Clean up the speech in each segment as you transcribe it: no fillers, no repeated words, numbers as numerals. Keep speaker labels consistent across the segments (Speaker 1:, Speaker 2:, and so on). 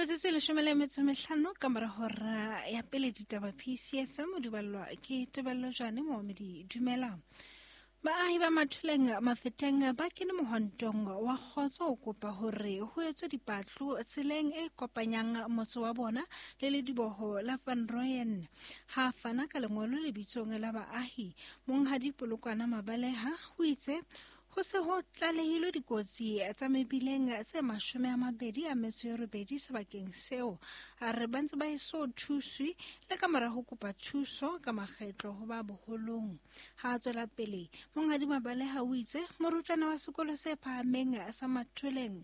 Speaker 1: Metsotso e 15 ka mora hora ya pele ditaba PCFM o di ballwa ke Tebello Jane Moomedi. Dumela. Baahi ba Mathuleng Mafeteng ba kene mohwantong wa kgotso ho kopa hore ho etswe dipatlo tseleng e kopanyang motse wa bona le lediboho la Van Rooyen. Ha a fana ka lengolo lebitsong la baahi, Monghadi Polokwana Mabaleha o itse ho se ho tlalehilwe dikotsi tsa mebileng tse 28 sebakeng seo. A re ba ntse ba eso thuswe le ka mora ho kopa thuso ka makgetlo ho ba boholong. Ha a tswela pele, Monghadi Mabaleha o itse morutwana wa sekolo se phahameng sa Mathuleng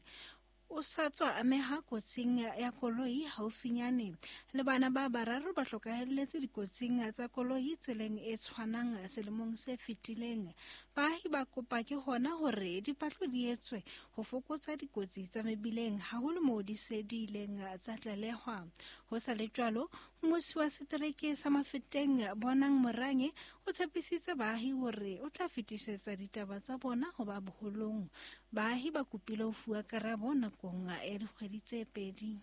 Speaker 1: o sa tswa ameha kotsing ya koloi haufinyane. Le bana ba bararo ba hlokahelletse dikotsing tsa koloi tseleng e tshwanang selemong se fetileng. Baahi ba kopa ke hona hore dipatlo di etswe ho fokotsa dikotsi tsa mebileng, haholo moo di se di ileng tsa tlalehwa. Ho sa le jwalo, mmusi wa setereke sa Mafeteng Bonang Morange o tshepisitse baahi hore o tla fetisetsa ditaba tsa bona ho ba boholong. Baahi ba kopile ho fuwa karabo nakong ya dikgwedi tse pedi.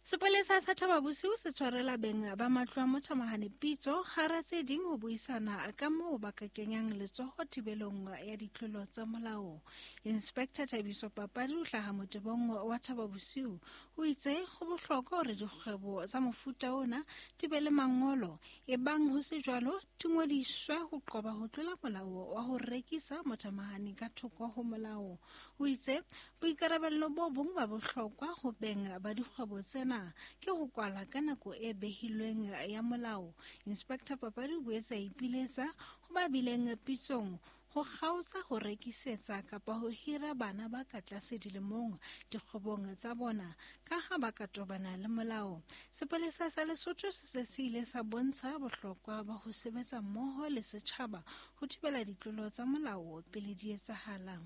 Speaker 1: Sepolesa sa Thaba Bosiu se tshwarela beng ba matlo a mothamahane pitso hara tse ding ho buisana ka moo ba ka kenyang letsoho thibelong ya ditlolo tsa molao. Inspector Thabiso Papadi o hlaha motebong wa Thaba Bosiu o itse ho bohlokwa hore dikgwebo tsa mofuta ona di be le mangolo, ebang ho se jwalo di ngodiswe ho qoba ho tlola molao wa ho rekisa mothamahane ka thoko ho molao. O itse boikarabello bo bong ba bohlokwa ho beng ba dikgwebo tsena ke ho kwala ka nako e behilweng ya molao. Inspector Papadi o boetse a ipiletsa ho ba bileng pitsong ho kgaotsa ho rekisetsa kapa ho hira bana ba ka tlase dilemong dikgwebong tsa bona ka ha ba ka tobana le molao. Sepolesa sa Lesotho se se se ile sa bontsha bohlokwa ba ho sebetsa mmoho le setjhaba ho thibela ditlolo tsa molao pele di etsahala.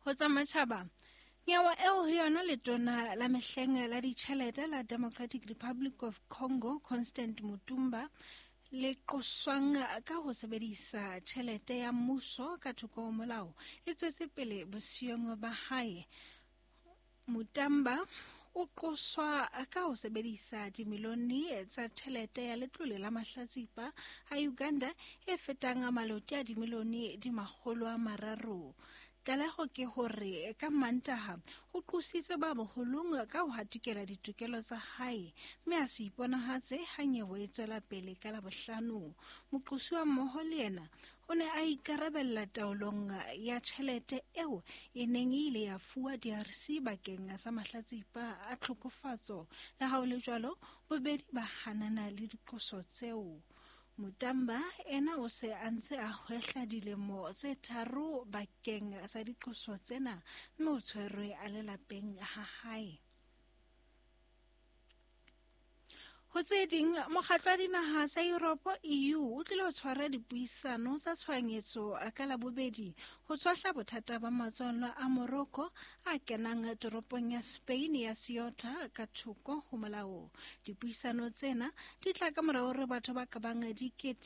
Speaker 1: Ho tsa matjhaba, nyewe eo ho yona letona la mehleng la ditjhelete la Democratic Republic of Congo Constant Mutumba le qoswang ka ho sebedisa tjhelete ya mmuso ka thoko ho molao e tswetse pele bosiyong ba hae. Mutamba o qoswa ka ho sebedisa dimilione tsa tjhelete ya letlole la mahlatsipa a Uganda e fetang maloti a dimilione di 300. Tlaleho ke hore ka Mantaha o qositse ba boholong ka ho hatikela ditokelo tsa hae mme a se iponahatse ha nyewe e tswela pele ka Labohlano. Moqosuwa mmoho le yena o ne a ikarabella taolong ya tjhelete eo e neng e ile ya fuwa DRC bakeng sa mahlatsipa a tlhokofatso. Le ha ho le jwalo, bobedi ba hanana le diqoso tseo. Mutamba ena o se a ntse a hwehla dilemo tse 3 bakeng sa diqoso tsena mme o tshwerwe a le lapeng ha hae. Ho tse ding, mokgatlo wa dinaha tsa Europe EU o tlile ho tshwara dipuisano tsa tshohanyetso ka Labobedi ho tshwahla bothata ba matswallwa a Morocco a kenang toropong ya Spain ya Ceuta ka thoko ho molao. Dipuisano tsena di tla ka mora hore batho ba ka bang 2